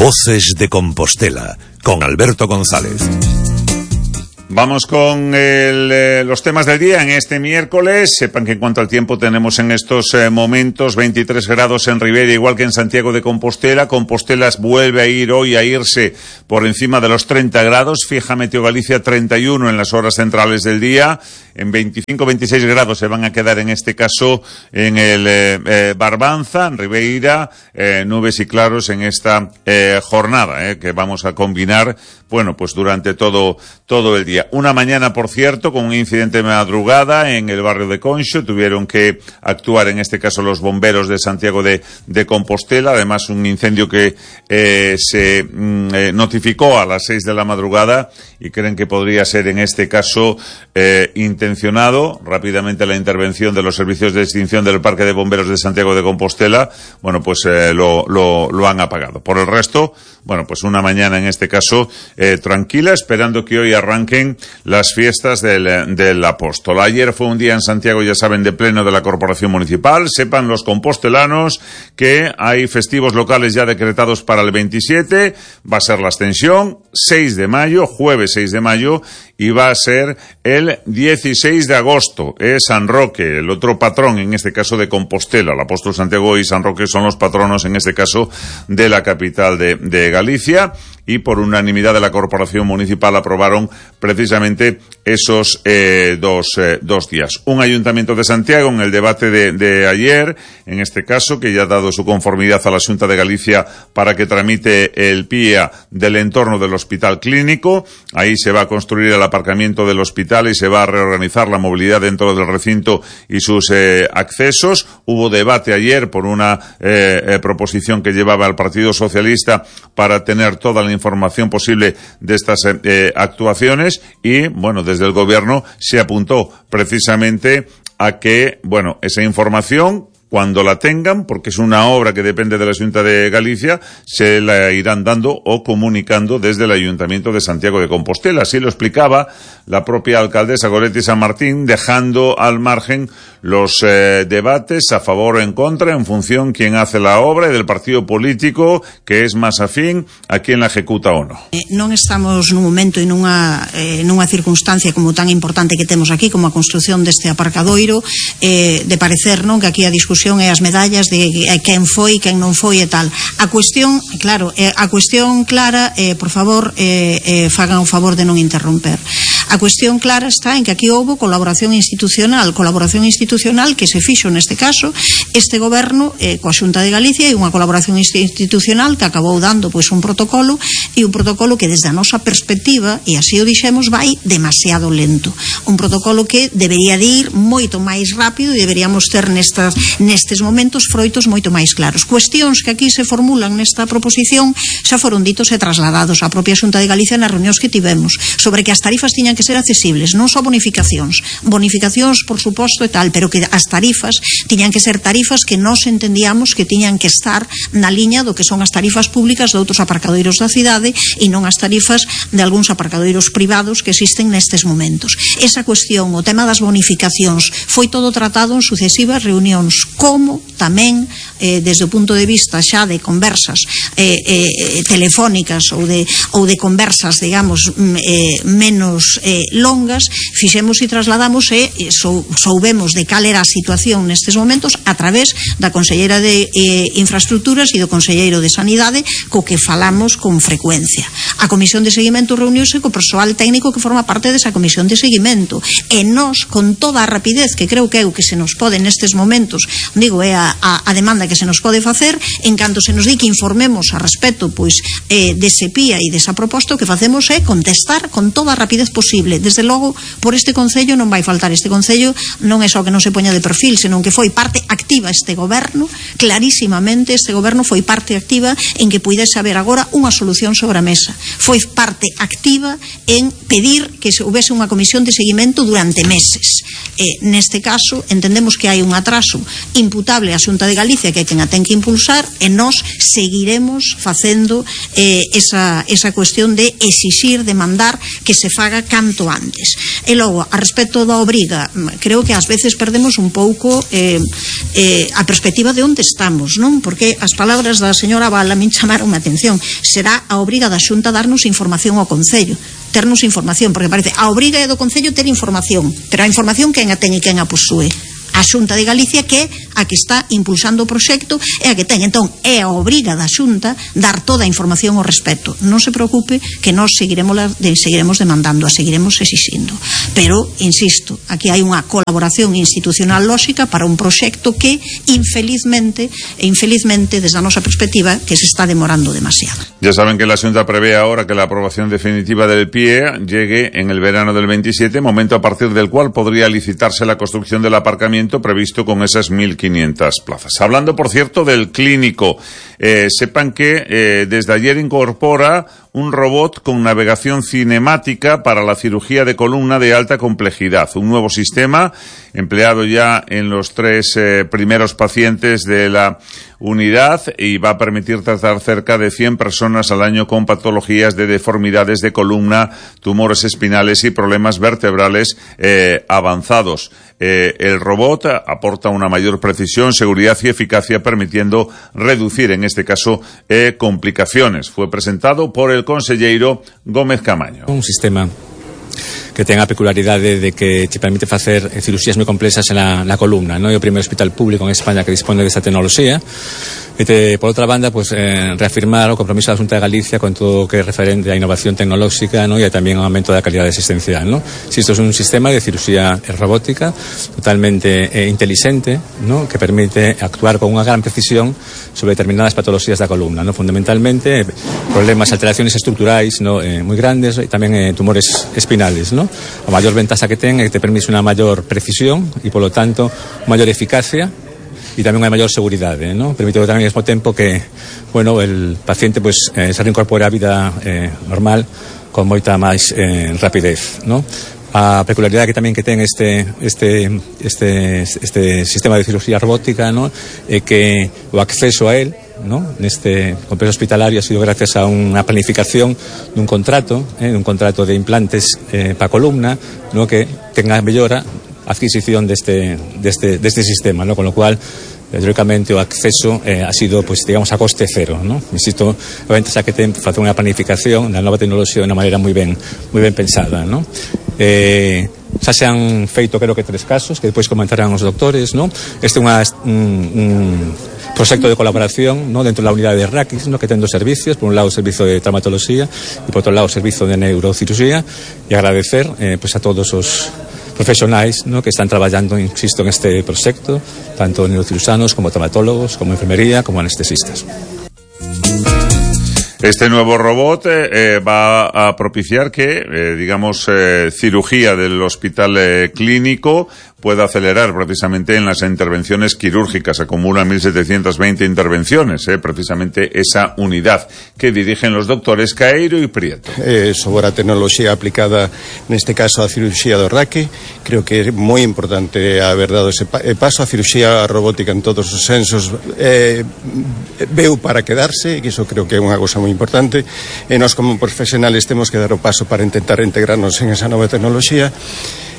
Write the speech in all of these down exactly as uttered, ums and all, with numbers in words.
Voces de Compostela, con Alberto González. Vamos con el, eh, los temas del día en este miércoles. Sepan que en cuanto al tiempo tenemos en estos eh, momentos veintitrés grados en Ribeira, igual que en Santiago de Compostela. Compostela vuelve a ir hoy a irse por encima de los treinta grados. Fija Meteo Galicia treinta y uno en las horas centrales del día. En veinticinco a veintiséis grados se van a quedar en este caso en el eh, eh, Barbanza, en Ribeira, eh, nubes y claros en esta eh, jornada eh, que vamos a combinar, bueno, pues durante todo, todo el día. Una mañana, por cierto, con un incidente de madrugada en el barrio de Conxo. Tuvieron que actuar, en este caso, los bomberos de Santiago de, de Compostela. Además, un incendio que eh, se mm, eh, notificó a las seis de la madrugada y creen que podría ser, en este caso, eh, intencionado. Rápidamente la intervención de los servicios de extinción del Parque de Bomberos de Santiago de Compostela, bueno, pues eh, lo, lo, lo han apagado. Por el resto, bueno, pues una mañana, en este caso, eh, tranquila, esperando que hoy arranquen las fiestas del, del Apóstol. Ayer fue un día en Santiago, ya saben, de pleno de la Corporación Municipal. Sepan los compostelanos que hay festivos locales ya decretados para el veintisiete. Va a ser la Ascensión, seis de mayo, jueves seis de mayo, y va a ser el dieciséis de agosto. Es San Roque, el otro patrón, en este caso de Compostela. El Apóstol Santiago y San Roque son los patronos, en este caso, de la capital de, de Galicia. Y por unanimidad de la Corporación Municipal aprobaron precisamente esos eh, dos, eh, dos días. Un Ayuntamiento de Santiago, en el debate de, de ayer, en este caso, que ya ha dado su conformidad a la Xunta de Galicia para que tramite el P I A del entorno del Hospital Clínico. Ahí se va a construir el aparcamiento del hospital y se va a reorganizar la movilidad dentro del recinto y sus eh, accesos. Hubo debate ayer por una eh, eh, proposición que llevaba el Partido Socialista para tener toda la información posible de estas eh, actuaciones y, bueno, desde el gobierno se apuntó precisamente a que, bueno, esa información, cuando la tengan, porque es una obra que depende de la Xunta de Galicia, se la irán dando o comunicando desde el Ayuntamiento de Santiago de Compostela. Así lo explicaba la propia alcaldesa Goretti San Martín, dejando al margen los eh, debates a favor o en contra en función quién hace la obra y del partido político que es más afín a quién la ejecuta o no. Eh, non estamos nun momento e nunha, eh, nunha circunstancia como tan importante que temos aquí como a construción deste aparcadoiro, eh, de parecer, non, que aquí a discusión e as medallas de quen foi, quen non foi e tal. A cuestión, claro, eh, a cuestión clara, eh, por favor, eh, eh, fagan o favor de non interromper. A cuestión clara está en que aquí houbo colaboración institucional, colaboración institucional que se fixo neste caso este goberno eh, coa Xunta de Galicia, e unha colaboración institucional que acabou dando pois un protocolo, e un protocolo que desde a nosa perspectiva, e así o dixemos, vai demasiado lento. Un protocolo que debería de ir moito máis rápido e deberíamos ter nestas, nestes momentos froitos moito máis claros. Cuestións que aquí se formulan nesta proposición xa foron ditos e trasladados á propia Xunta de Galicia nas reunións que tivemos sobre que as tarifas tiñan que ser accesibles, non só bonificacións, bonificacións por suposto e tal, pero que as tarifas tiñan que ser tarifas que nós entendíamos que tiñan que estar na liña do que son as tarifas públicas de outros aparcadoiros da cidade e non as tarifas de algúns aparcadoiros privados que existen nestes momentos. Esa cuestión, o tema das bonificacións, foi todo tratado en sucesivas reunións, como tamén eh, desde o punto de vista xa de conversas eh, eh, telefónicas ou de, ou de conversas, digamos, eh, menos eh, longas, fixemos e trasladamos e eh, sou, soubemos de cal era a situación nestes momentos a través da Conselleira de eh, Infraestructuras e do Conselleiro de Sanidade, co que falamos con frecuencia. A Comisión de Seguimento reuniuse co persoal técnico que forma parte desa Comisión de Seguimento, e nós, con toda a rapidez que creo que é o que se nos pode nestes momentos, digo, é a, a, a demanda que se nos pode facer, en canto se nos di que informemos a respecto pois eh, dese P I A e desa proposta, o que facemos é contestar con toda a rapidez posible. Desde logo, por este Concello non vai faltar. Este Concello non é só que non se poña de perfil, senón que foi parte activa este goberno, clarísimamente este goberno foi parte activa en que puidese haber agora unha solución sobre a mesa. foi parte activa en pedir que se houvese unha comisión de seguimento durante meses. E, neste caso, entendemos que hai un atraso imputable á Xunta de Galicia, que é quen a ten que impulsar, e nós seguiremos facendo eh, esa, esa cuestión de exixir, de mandar que se faga canto antes. E logo, a respecto da obriga, creo que ás veces perdemos un pouco eh, eh, a perspectiva de onde estamos, non? Porque as palabras da señora Vala me chamaron a atención. Será a obriga da Xunta darnos información ao Concello, ternos información, porque parece a obriga é do Concello ter información, pero a información quen a ten e quen a posúe? A Xunta de Galicia, que é a que está impulsando o proxecto, é a que ten. Entón, é a obriga da Xunta dar toda a información ao respecto. Non se preocupe que nós seguiremos, seguiremos demandando, a seguiremos exixindo. Pero, insisto, aquí hai unha colaboración institucional lóxica para un proxecto que, infelizmente, e infelizmente, desde a nosa perspectiva, que se está demorando demasiado. Ya saben que la Xunta prevé ahora que la aprobación definitiva del P I E llegue en el verano del veintisiete, momento a partir del cual podría licitarse la construcción del aparcamiento previsto con esas mil quinientas plazas. Hablando, por cierto, del clínico, eh, sepan que eh, desde ayer incorpora un robot con navegación cinemática para la cirugía de columna de alta complejidad. Un nuevo sistema empleado ya en los tres eh, primeros pacientes de la unidad y va a permitir tratar cerca de cien personas al año con patologías de deformidades de columna, tumores espinales y problemas vertebrales eh, avanzados. Eh, el robot aporta una mayor precisión, seguridad y eficacia, permitiendo reducir, en este caso, eh, complicaciones. Fue presentado por el conselleiro Gómez Camaño. Un sistema que ten a peculiaridade de que te permite facer cirugías moi complexas na, na columna, non? É o primeiro hospital público en España que dispone desta tecnoloxía. E te, por outra banda, pues, eh, reafirmar o compromiso da Xunta de Galicia con todo o que é referente á innovación tecnolóxica, ¿no? E tamén ao aumento da calidade asistencial, ¿no? Si isto é un sistema de cirugía robótica totalmente eh, inteligente, ¿no? Que permite actuar con unha gran precisión sobre determinadas patologías da columna, ¿no? Fundamentalmente problemas, alteraciones estruturais, ¿no? eh, moi grandes, e tamén eh, tumores espinales, ¿no? A maior ventaxa que ten é que te permite unha maior precisión e, polo tanto, maior eficacia e tamén unha maior seguridade, ¿no? Permite tamén ao mesmo tempo que, bueno, el paciente pues, eh, se reincorpore á vida eh, normal con moita máis eh, rapidez, ¿no? A peculiaridade que tamén que ten este este este este sistema de cirugía robótica, ¿no? É que o acceso a él, ¿no? Neste complexo hospitalario ha sido gracias a unha planificación dun contrato, eh, dun contrato de implantes eh, para columna, ¿no? Que tenga mellora a adquisición deste, deste, deste sistema, ¿no? Con lo cual, teóricamente, o acceso eh, ha sido, pues, digamos, a coste cero, ¿no? Insisto, a ventaxa que ten facer unha planificación da nova tecnoloxía de unha maneira moi ben, moi ben pensada, ¿no? Eh, xa se han feito, creo que, tres casos que depois comentarán os doctores, ¿no? Este é unha, un, un proxecto de colaboración, ¿no? Dentro da unidade de Raquis, ¿no? Que ten dos servicios, por un lado o servicio de traumatología e por outro lado o servicio de neurocirugía, e agradecer eh, pues, a todos os profesionais, ¿no? Que están traballando, insisto, en este proxecto, tanto neurocirujanos como traumatólogos, como enfermería, como anestesistas. Este nuevo robot eh, va a propiciar que, eh, digamos, eh, cirugía del hospital eh, clínico pueda acelerar precisamente en las intervenciones quirúrgicas. Acumulan mil setecientas veinte intervenciones, eh, precisamente esa unidad que dirigen los doctores Caeiro y Prieto. Eh, sobre a tecnoloxía aplicada neste caso a cirurxía do raque, creo que é moi importante haber dado ese pa paso. A cirurxía robótica en todos os sensos eh, veu para quedarse, e iso creo que é unha cousa moi importante, e nós como profesionales temos que dar o paso para intentar integrarnos en esa nova tecnoloxía.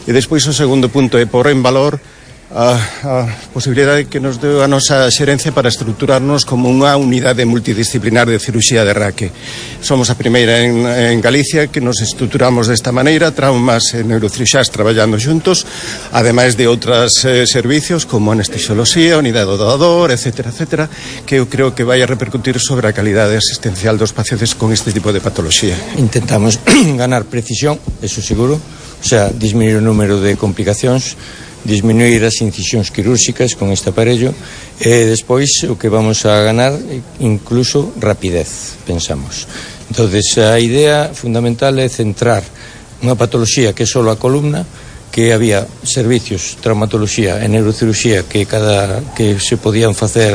E despois o segundo punto é por en valor a, a posibilidade que nos deu a nosa xerencia para estruturarnos como unha unidade multidisciplinar de cirurxía de raque. Somos a primeira en, en Galicia que nos estruturamos desta maneira, traumas e neurocirurxás traballando xuntos, ademais de outros eh, servicios como anestesioloxía, unidade do doador, etcétera, etcétera, que eu creo que vai a repercutir sobre a calidade asistencial dos pacientes con este tipo de patoloxía. Intentamos ganar precisión, eso seguro, o sea, disminuir o número de complicacións, disminuir as incisións quirúrxicas con este aparello, e despois o que vamos a ganar incluso rapidez, pensamos. Entonces, a idea fundamental é centrar unha patoloxía que é só a columna, que había servicios, traumatoloxía e neurocirurxía que cada que se podían facer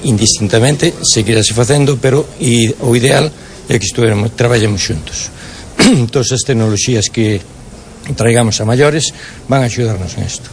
indistintamente, seguirase facendo, pero e, o ideal e que estudemos, traballemos xuntos. Todas as tecnoloxías que traigamos a maiores van a axudarnos en isto.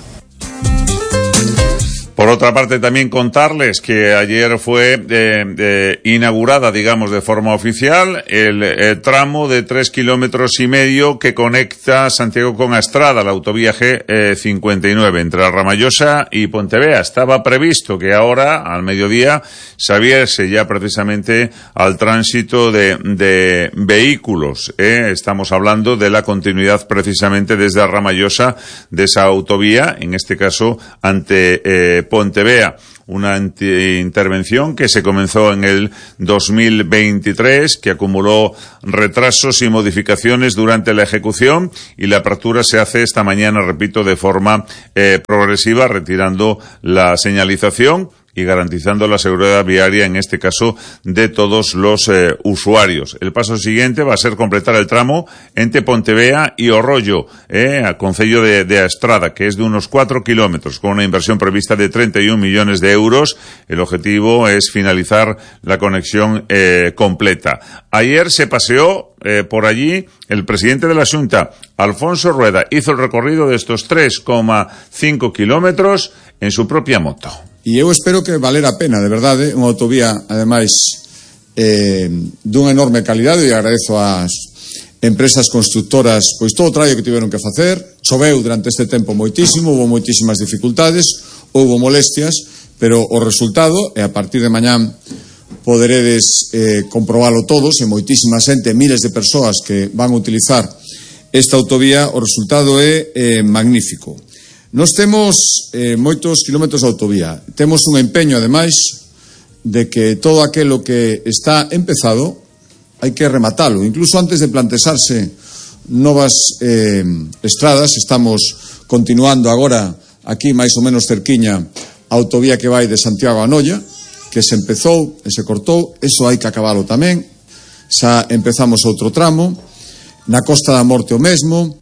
Por otra parte, también contarles que ayer fue eh, eh, inaugurada, digamos, de forma oficial el, el tramo de tres kilómetros y medio que conecta Santiago con Astrada, la autovía G eh, cincuenta y nueve, entre Ramallosa y Pontevea. Estaba previsto que ahora, al mediodía, se abriese ya precisamente al tránsito de, de vehículos. ¿eh? Estamos hablando de la continuidad precisamente desde Ramallosa de esa autovía, en este caso ante eh, Pontevea, una intervención que se comenzó en el dos mil veintitrés, que acumuló retrasos y modificaciones durante la ejecución, y la apertura se hace esta mañana, repito, de forma eh, progresiva, retirando la señalización y garantizando la seguridad viaria, en este caso, de todos los eh, usuarios. El paso siguiente va a ser completar el tramo entre Pontevea y Orrollo, eh, al concello de, de Astrada, que es de unos cuatro kilómetros, con una inversión prevista de treinta y un millones de euros. El objetivo es finalizar la conexión eh, completa. Ayer se paseó eh, por allí el presidente de la Xunta, Alfonso Rueda, hizo el recorrido de estos tres coma cinco kilómetros en su propia moto. E eu espero que valera a pena, de verdade, unha autovía, ademais, eh, dunha enorme calidade, e agradezo ás empresas constructoras pois todo o traballo que tiveron que facer. Choveu durante este tempo moitísimo, houve moitísimas dificultades, houve molestias, pero o resultado, e a partir de mañán poderedes eh, comprobalo todos, e moitísima xente, miles de persoas que van a utilizar esta autovía, o resultado é eh, magnífico. Nós temos eh, moitos kilómetros de autovía. Temos un empeño, ademais, de que todo aquilo que está empezado hai que rematalo. Incluso antes de plantexarse novas eh, estradas, estamos continuando agora aquí máis ou menos cerquiña a autovía que vai de Santiago a Noia, que se empezou e se cortou. Eso hai que acabalo tamén. Xa empezamos outro tramo. Na Costa da Morte o mesmo.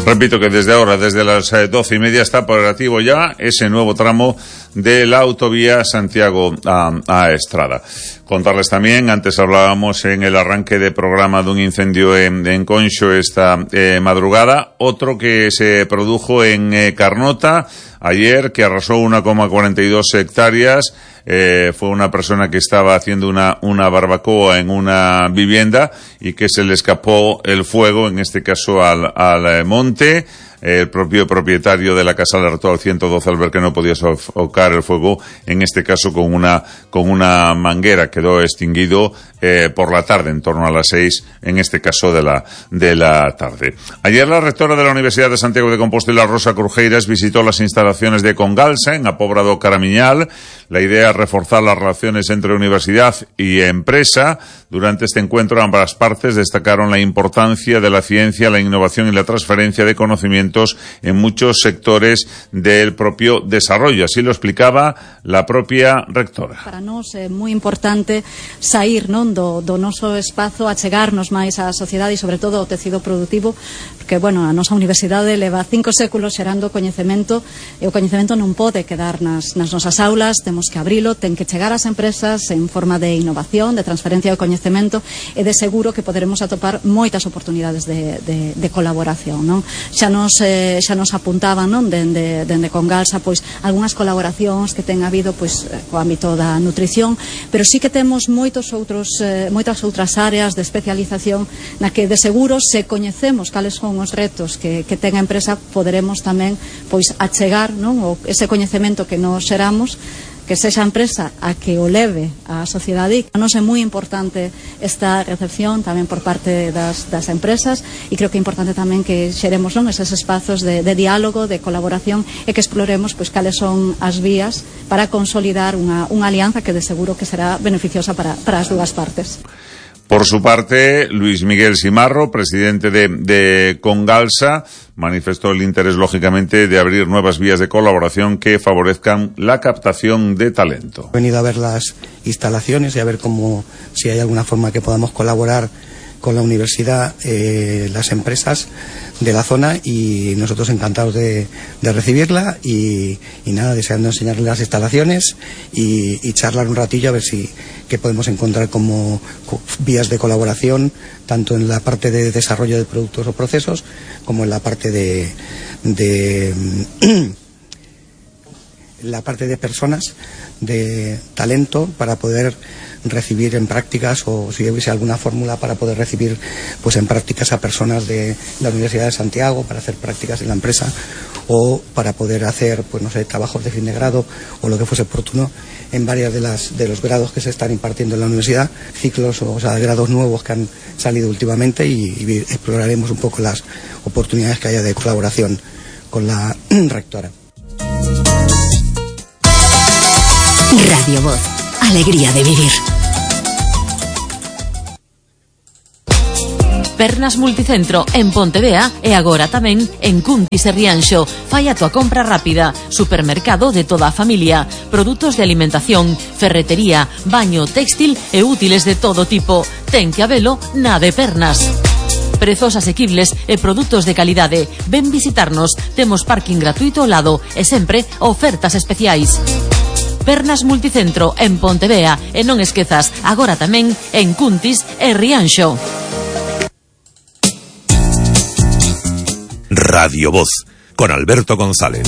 Repito que desde ahora, desde las doce y media, está operativo ya ese nuevo tramo de la autovía Santiago a, a Estrada. Contarles también, antes hablábamos en el arranque de programa de un incendio en, en Conxo esta eh, madrugada, otro que se produjo en eh, Carnota ayer, que arrasó una coma cuarenta y dos hectáreas. Eh, fue una persona que estaba haciendo una, una barbacoa en una vivienda y que se le escapó el fuego, en este caso al, al monte. El propio propietario de la casa alertó al ciento doce al ver que no podía sofocar el fuego, en este caso con una con una manguera. Quedó extinguido eh, por la tarde, en torno a las seis, en este caso de la de la tarde. Ayer la rectora de la Universidad de Santiago de Compostela, Rosa Crujeiras, visitó las instalaciones de Congalsa en Apobra do Caramiñal. La idea es reforzar las relaciones entre universidad y empresa. Durante este encuentro, ambas partes destacaron la importancia de la ciencia, la innovación y la transferencia de conocimientos en muchos sectores del propio desarrollo. Así lo explicaba la propia rectora. Para nós é moi importante sair, non, do, do noso espazo, achegarnos máis á sociedade e sobre todo ao tecido productivo, porque, bueno, a nosa universidade leva cinco séculos xerando coñecemento, e o coñecemento non pode quedar nas, nas nosas aulas, temos que abrilo, ten que chegar ás empresas en forma de innovación, de transferencia de coñecemento, e de seguro que poderemos atopar moitas oportunidades de, de, de colaboración, non? Xa nos, eh, xa nos apuntaban, non, dende, dende Congalsa, pois, algunhas colaboracións que ten habido, pois, co ámbito da nutrición, pero sí que temos moitos outros, eh, moitas outras áreas de especialización na que de seguro, se coñecemos cales son os retos que, que ten a empresa, poderemos tamén, pois, achegar, non, o, ese coñecemento que nos xeramos, que sexa a empresa a que o leve a sociedade. A nos é moi importante esta recepción tamén por parte das, das empresas, e creo que é importante tamén que xeremos, non, eses espazos de, de diálogo, de colaboración, e que exploremos, pois, cales son as vías para consolidar unha, unha alianza que de seguro que será beneficiosa para, para as dúas partes. Por su parte, Luis Miguel Simarro, presidente de, de Congalsa, manifestó el interés, lógicamente, de abrir nuevas vías de colaboración que favorezcan la captación de talento. He venido a ver las instalaciones y a ver cómo, si hay alguna forma que podamos colaborar con la universidad, eh, las empresas de la zona, y nosotros encantados de, de recibirla y, y nada, deseando enseñarles las instalaciones y, y charlar un ratillo a ver si qué podemos encontrar como vías de colaboración, tanto en la parte de desarrollo de productos o procesos como en la parte de, de la parte de personas, de talento, para poder recibir en prácticas, o si hubiese alguna fórmula para poder recibir pues en prácticas a personas de la Universidad de Santiago para hacer prácticas en la empresa, o para poder hacer pues no sé, trabajos de fin de grado o lo que fuese oportuno en varias de las de los grados que se están impartiendo en la universidad, ciclos o, o sea, grados nuevos que han salido últimamente, y, y exploraremos un poco las oportunidades que haya de colaboración con la rectora. Radio Voz, alegría de vivir. Pernas Multicentro en Pontevea e agora tamén en Cuntis e Rianxo. Fai a tua compra rápida. Supermercado de toda a familia. Produtos de alimentación, ferretería, baño, téxtil e útiles de todo tipo. Ten que habelo na de Pernas. Prezos asequibles e produtos de calidade. Ven visitarnos. Temos parking gratuito ao lado e sempre ofertas especiais. Pernas Multicentro en Pontevea e non esquezas, agora tamén en Cuntis e Rianxo. Radio Voz, con Alberto González.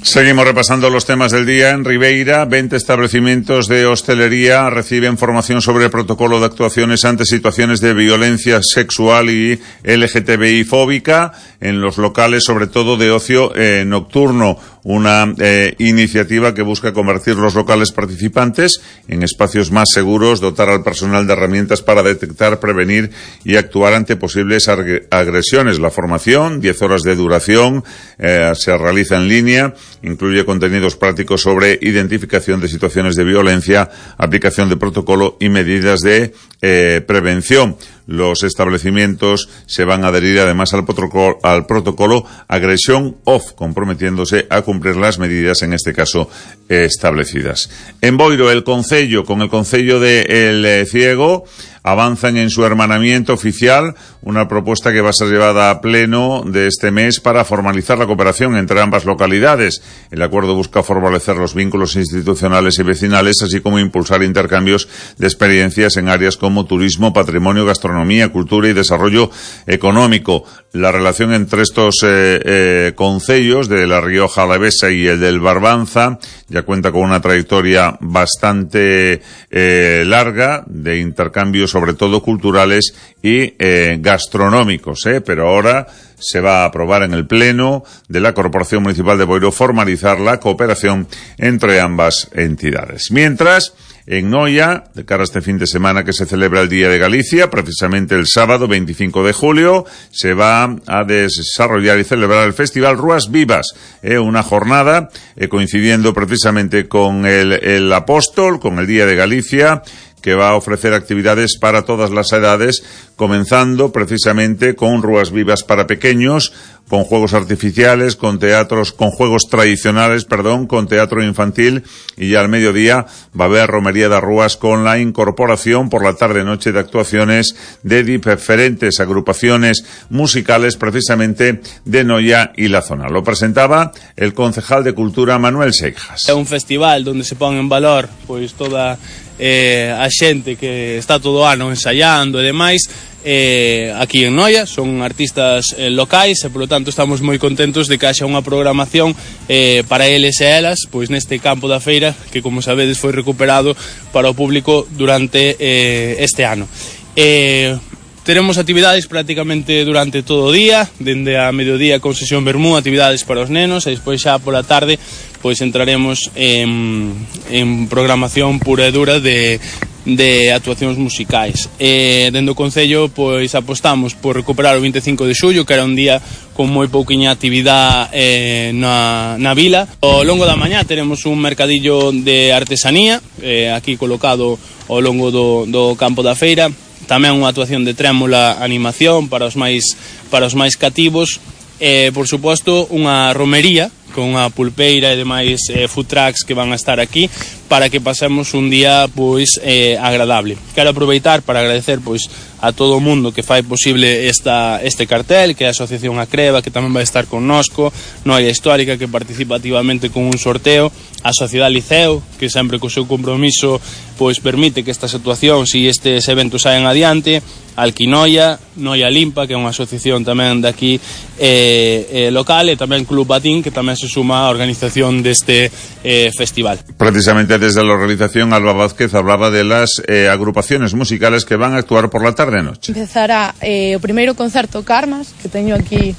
Seguimos repasando los temas del día. En Ribeira, veinte establecimientos de hostelería reciben formación sobre el protocolo de actuaciones ante situaciones de violencia sexual y L G T B I fóbica en los locales, sobre todo de ocio eh, nocturno. Una eh, iniciativa que busca convertir los locales participantes en espacios más seguros, dotar al personal de herramientas para detectar, prevenir y actuar ante posibles agresiones. La formación, diez horas de duración, eh, se realiza en línea, incluye contenidos prácticos sobre identificación de situaciones de violencia, aplicación de protocolo y medidas de eh, prevención. Los establecimientos se van a adherir además al protocolo, al protocolo Agresión Off, comprometiéndose a cumplir las medidas, en este caso, eh, establecidas. En Boiro, el Concello, con el Concello de El eh, Ciego, avanzan en su hermanamiento oficial, una propuesta que va a ser llevada a pleno de este mes para formalizar la cooperación entre ambas localidades. El acuerdo busca fortalecer los vínculos institucionales y vecinales, así como impulsar intercambios de experiencias en áreas como turismo, patrimonio, gastronomía, cultura y desarrollo económico. La relación entre estos eh, eh, concellos de La Rioja Alavesa y el del Barbanza ya cuenta con una trayectoria bastante eh, larga de intercambios, sobre todo culturales y eh, gastronómicos, ¿eh? Pero ahora se va a aprobar en el Pleno de la Corporación Municipal de Boiro formalizar la cooperación entre ambas entidades. Mientras, en Noia, de cara a este fin de semana que se celebra el Día de Galicia, precisamente el sábado veinticinco de julio, se va a desarrollar y celebrar el Festival Rúas Vivas, eh, una jornada eh, coincidiendo precisamente con el, el Apóstol, con el Día de Galicia, que va a ofrecer actividades para todas las edades, comenzando precisamente con Rúas Vivas para pequeños, con juegos artificiales, con teatros, con juegos tradicionales, perdón, con teatro infantil, y ya al mediodía va a haber romería de rúas con la incorporación por la tarde-noche de actuaciones de diferentes agrupaciones musicales, precisamente de Noia y la zona. Lo presentaba el concejal de Cultura, Manuel Seijas. É un festival donde se pon en valor pois toda eh, a xente que está todo o ano ensaiando e demais. Eh, aquí en Noia son artistas eh, locais e polo tanto estamos moi contentos de que haxa unha programación eh, para eles e elas pois neste campo da feira que, como sabedes, foi recuperado para o público durante eh, este ano. eh, Teremos actividades prácticamente durante todo o día, dende a mediodía con sesión vermú, actividades para os nenos, e despois xa pola tarde pois entraremos en, en programación pura e dura de, de actuacións musicais. E dende o Concello pois apostamos por recuperar o veinticinco de xullo, que era un día con moi pouquiña actividade eh, na, na vila. Ao longo da mañá teremos un mercadillo de artesanía eh, aquí colocado ao longo do, do campo da feira. Tamén unha actuación de trémula animación para os máis para os máis cativos. E, por suposto, unha romería con a pulpeira e demais eh, food trucks que van a estar aquí para que pasemos un día pois eh, agradable. Quero aproveitar para agradecer pois a todo o mundo que fai posible esta, este cartel, que é a Asociación Acreva, que tamén vai estar connosco, Noia Histórica, que participa activamente con un sorteo, a Sociedade Liceo, que sempre co seu compromiso pois permite que estas situacións e estes eventos saen adiante, Alquinoia, Noia Limpa, que é unha asociación tamén daqui eh, eh, local, e tamén Club Batín, que tamén se suma á organización deste eh, festival. Precisamente desde la organización, Alba Vázquez hablaba de las eh, agrupaciones musicales que van a actuar por la tarde e noche. Empezará eh, o primeiro concerto Carmas, que teño aquí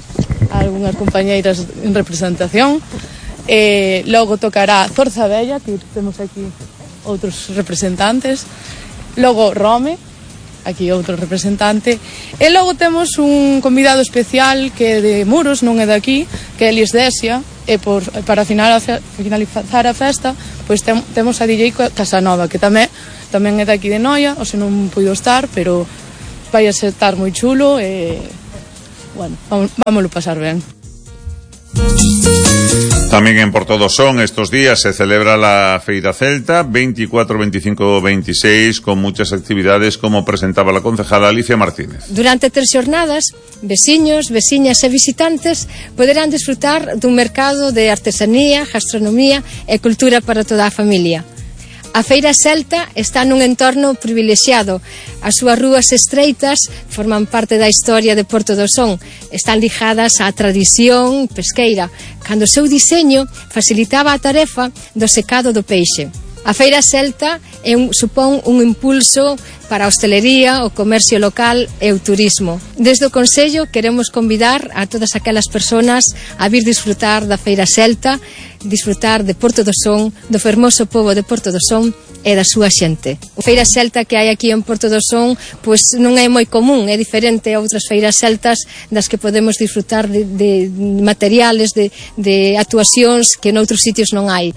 algunhas compañeiras en representación, eh, logo tocará Zorza Bella, que temos aquí outros representantes, logo Rome, aquí outro representante, e logo temos un convidado especial que é de Muros, non é de aquí, que é Elis Desia, e por, para finalizar a festa pois tem, temos a D J Casanova, que tamén tamén é de aquí de Noia, ou se non puido estar, pero vai a estar moi chulo e, bueno, vamos, vámoslo pasar ben. También en Portodosón estos días se celebra la Feira Celta veinticuatro, veinticinco, veintiséis con muchas actividades como presentaba la concejala Alicia Martínez. Durante tres xornadas, veciños, veciñas e visitantes poderán disfrutar dun mercado de artesanía, gastronomía e cultura para toda a familia. A Feira Celta está nun entorno privilexiado. As súas rúas estreitas forman parte da historia de Portodosón. Están ligadas á tradición pesqueira, cando o seu diseño facilitaba a tarefa do secado do peixe. A Feira Celta é un, supón un impulso para a hostelería, o comercio local e o turismo. Desde o Consello queremos convidar a todas aquelas persoas a vir disfrutar da Feira Celta, disfrutar de Portodosón, do fermoso pobo de Portodosón e da súa xente. A Feira Celta que hai aquí en Portodosón pois non é moi común, é diferente a outras feiras celtas das que podemos disfrutar de, de materiales, de, de actuacións que noutros sitios non hai.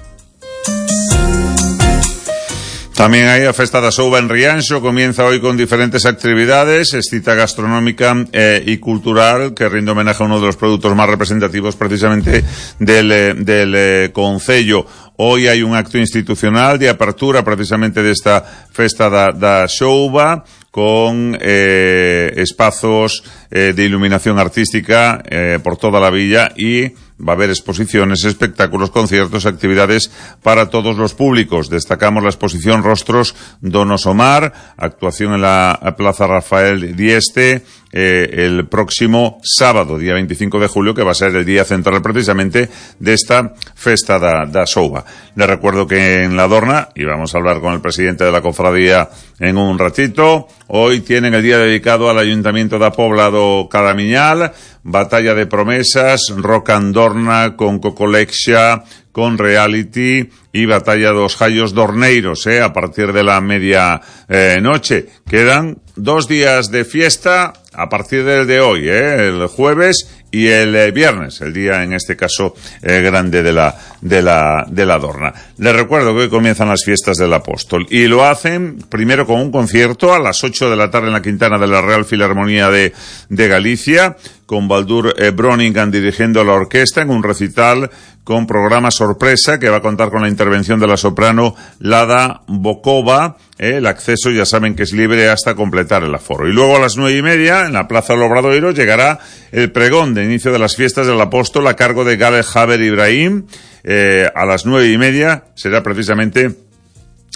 También hay la Festa da Souba en Rianxo, comienza hoy con diferentes actividades, es cita gastronómica eh, y cultural que rinde homenaje a uno de los productos más representativos precisamente del, eh, del eh, concello. Hoy hay un acto institucional de apertura precisamente de esta Festa da, da Souba con eh, espazos eh, de iluminación artística eh, por toda la villa y va a haber exposiciones, espectáculos, conciertos, actividades para todos los públicos. Destacamos la exposición Rostros Donos Omar, actuación en la Plaza Rafael Dieste, eh, el próximo sábado, día veinticinco de julio, que va a ser el día central precisamente de esta Festa da, da Souba. Les recuerdo que en La Dorna, y vamos a hablar con el presidente de la cofradía en un ratito, hoy tienen el día dedicado al Ayuntamiento da Pobla do Caramiñal, batalla de promesas, rock and Dorna con Cocolexia, con Reality y batalla dos Jallos Dorneiros, eh, a partir de la media eh, noche. Quedan dos días de fiesta a partir del de hoy, eh, el jueves y el eh, viernes, el día en este caso eh, grande de la de la de la Dorna. Les recuerdo que hoy comienzan las fiestas del Apóstol y lo hacen primero con un concierto a las ocho de la tarde en la Quintana de la Real Filarmonía de de Galicia, con Baldur eh, Broningan dirigiendo la orquesta en un recital con programa sorpresa que va a contar con la intervención de la soprano Lada Bokova. Eh, el acceso ya saben que es libre hasta completar el aforo. Y luego a las nueve y media en la Plaza del Obradoiro llegará el pregón de inicio de las fiestas del Apóstol a cargo de Gale Haber Ibrahim. Eh, a las nueve y media será precisamente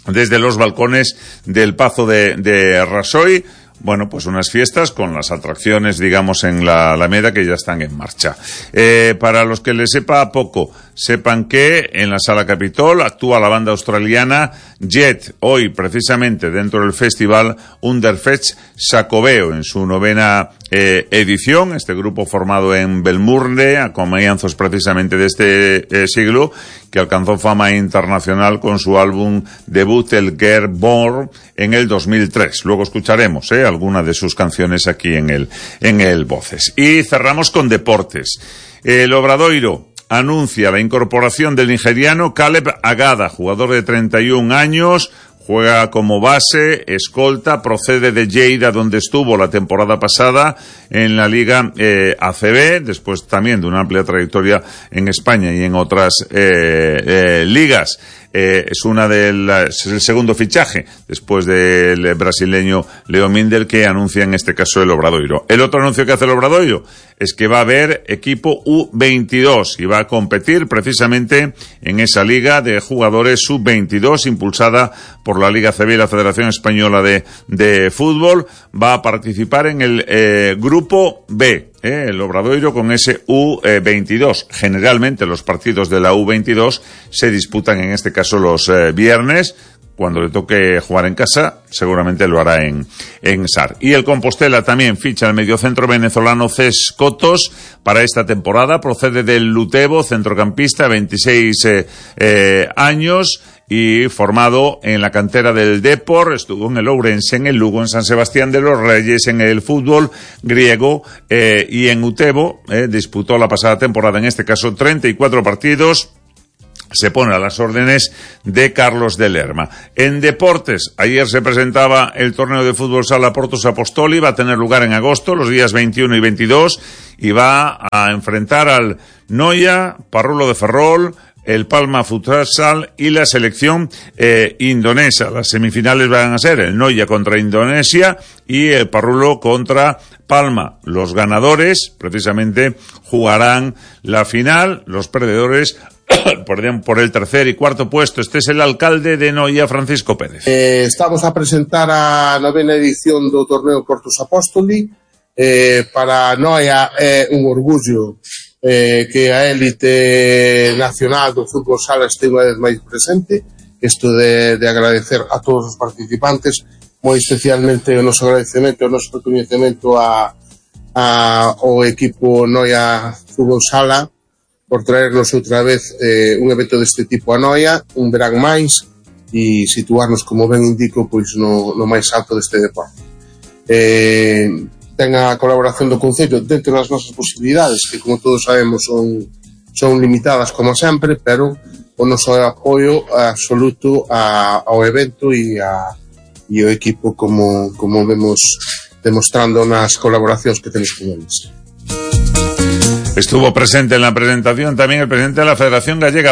desde los balcones del Pazo de, de Rasoy. Bueno, pues unas fiestas con las atracciones, digamos, en la Alameda que ya están en marcha. Eh, para los que les sepa poco, sepan que en la Sala Capitol actúa la banda australiana Jet, hoy precisamente dentro del festival Underfetch Xacobeo en su novena eh, edición, este grupo formado en Belmurne a comienzos precisamente de este eh, siglo, que alcanzó fama internacional con su álbum debut El Girl Born en el dos mil tres. Luego escucharemos eh, alguna de sus canciones aquí en el, en el Voces. Y cerramos con deportes. El Obradoiro anuncia la incorporación del nigeriano Caleb Agada, jugador de treinta y un años, juega como base, escolta, procede de Lleida, donde estuvo la temporada pasada en la Liga eh, A C B, después también de una amplia trayectoria en España y en otras eh, eh, ligas. Eh, es una de las, es el segundo fichaje después del brasileño Leo Mindel, que anuncia en este caso el Obradoiro. El otro anuncio que hace el Obradoiro es que va a haber equipo U veintidós y va a competir precisamente en esa liga de jugadores sub veintidós impulsada por la Liga A C B y la Federación Española de, de Fútbol. Va a participar en el eh, grupo B. Eh, el Obradoiro con ese U veintidós. Generalmente los partidos de la U veintidós se disputan en este caso los eh, viernes. Cuando le toque jugar en casa, seguramente lo hará en, en S A R. Y el Compostela también ficha al mediocentro venezolano Ces Cotos para esta temporada. Procede del Lutebo, centrocampista, veintiséis eh, eh, años. Y formado en la cantera del Depor, estuvo en el Ourense, en el Lugo, en San Sebastián de los Reyes, en el fútbol griego eh, y en Utebo. Eh, disputó la pasada temporada, en este caso, treinta y cuatro partidos. Se pone a las órdenes de Carlos de Lerma. En deportes, ayer se presentaba el torneo de fútbol sala Portos Apostoli, va a tener lugar en agosto, los días veintiuno y veintidós, y va a enfrentar al Noia, Parrulo de Ferrol, el Palma Futsal y la selección eh, indonesa. Las semifinales van a ser el Noia contra Indonesia y el Parrulo contra Palma. Los ganadores, precisamente, jugarán la final. Los perdedores perdón, por el tercer y cuarto puesto. Este es el alcalde de Noia, Francisco Pérez. Eh, estamos a presentar a novena edición do torneo Portos Apostoli. Eh, para Noia é un orgullo eh, que a élite nacional do fútbol sala este unha vez máis presente. Isto de, de agradecer a todos os participantes, moi especialmente o noso agradecemento, o noso reconhecemento a, a, ao equipo Noia Fútbol Sala por traernos outra vez eh, un evento deste tipo a Noia, un verán máis, e situarnos, como ben indico, pois no, no máis alto deste deporte. Eh, ten a colaboración do Concello dentro das nosas posibilidades, que como todos sabemos son, son limitadas como sempre, pero o noso apoio absoluto a, ao evento e, a, e o equipo como, como vemos demostrando nas colaboracións que temos con eles. Estuvo presente en la presentación también el presidente de la Federación Gallega